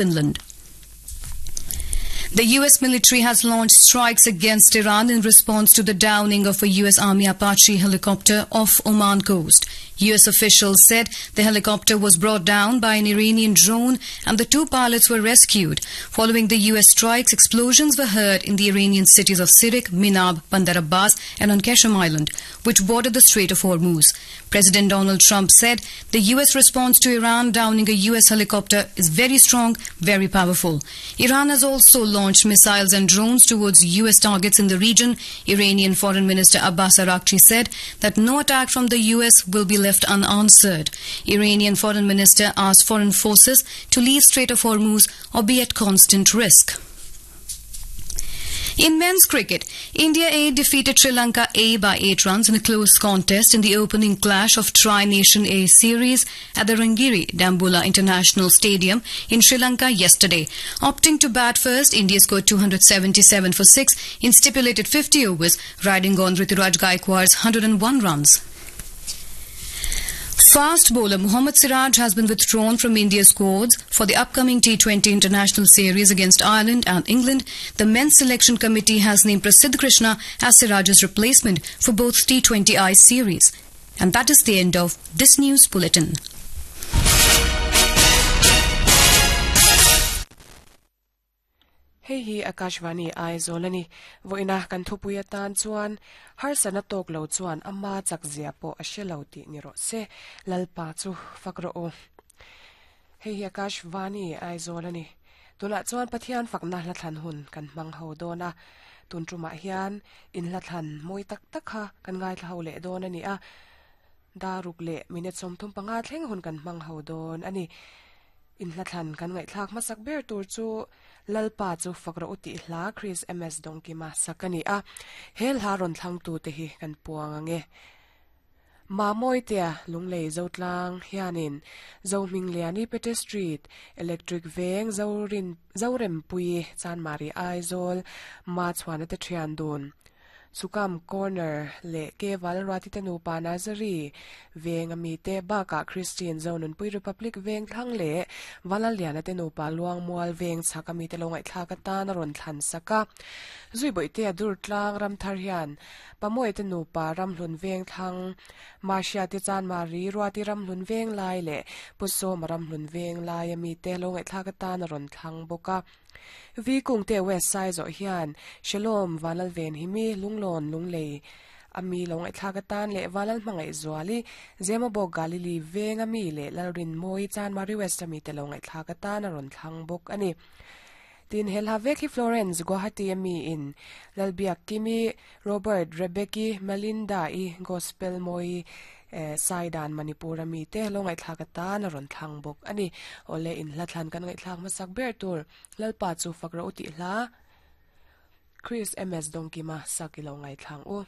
Finland. The US military has launched strikes against Iran in response to the downing of a US Army Apache helicopter off Oman coast. US officials said the helicopter was brought down by an Iranian drone and the two pilots were rescued. Following the US strikes, explosions were heard in the Iranian cities of Sirik, Minab, Bandar Abbas and on Qeshm Island, which border the Strait of Hormuz. President Donald Trump said the US response to Iran downing a US helicopter is very strong, very powerful. Iran has also launched missiles and drones towards US targets in the region. Iranian Foreign Minister Abbas Araghchi said that no attack from the US will be left unanswered. Iranian Foreign Minister asked foreign forces to leave Strait of Hormuz or be at constant risk. In men's cricket, India A defeated Sri Lanka A by 8 runs in a close contest in the opening clash of Tri-Nation A series at the Rangiri Dambulla International Stadium in Sri Lanka yesterday. Opting to bat first, India scored 277 for 6 in stipulated 50 overs, riding on Rituraj Gaikwad's 101 runs. Fast bowler Mohammad Siraj has been withdrawn from India's squads for the upcoming T20 International Series against Ireland and England. The men's selection committee has named Prasidh Krishna as Siraj's replacement for both T20I series. And that is the end of this news bulletin. Hei hi Akashvani Aizawl a ni. Vawiina kan thupui atan chuan harsatna tawk lo chuan ama chak zia pawh a hre lo tih ni rawh se. Lalpa chu fak rawh u. Hei hi Akashvani Aizawl a ni. Tunah chuan Pathian fakna hlathlan hun kan hmang ho dawn a. Tun tumah hian in hlathlan mawi tak tak kha kan ngaithla ho leh dawn a ni a. Daruk leh minute 35 thleng hun kan hmang ho dawn a ni. Inhlathlan kan ngaihthlak hmasak ber tur chu Lalpa chu fak rawh u tih hla Chris MS Dawngkima sak a ni a, he hla rawn thlangtute hi kan puang ang e. Mamawitea Lunglei Zotlang hianin Zohmingliani Pete Street, Electric Veng Zorin Zorempuii Chanmari Aizawl Machhuana te thian dun Sukam Corner leh Keval Ruatite nupa Nazari veng a mite bakah Christian Zonunpui Republic veng thlang leh Valaliana te nupa Luangmual veng chhak a mite lo ngaihthlak atan a rawn thlan sak a. Zuibawihtea Durtlang Ramthar hian Pamuaite nupa Ramhlun veng thlang Mahriate Chanmari Ruati Ramhlun veng lai leh Pu Sawma Ramhlun veng lai a mite lo ngaihthlak atan a rawn thlang bawk a. Vi Kungte West Saizawh hian Shalom Vanlalven hi mi Lunglawn Lunglei a mi lo ngaihthlak atan leh Vanlal Hmangaih Zuali Zemabawk Galili veng a mi leh Lalrinmawi Chanmari West a mite lo ngaihthlak atan a rawn thlang bawk a ni. Tin, he hla vek hi Florence Guwahati a mi in Lalbiak Kimi, Robert, Rebecki, Melinda-i, Gospel Mawi Saidan Manipur a mite lo ngaihthlak atan a rawn thlang bawk a ni. Awle inhla thlan kan ngaihthlak hmasak ber tur Lalpa chu fak rawh u tih hla Chris MS Dawngkima sak i lo ngaithlang u.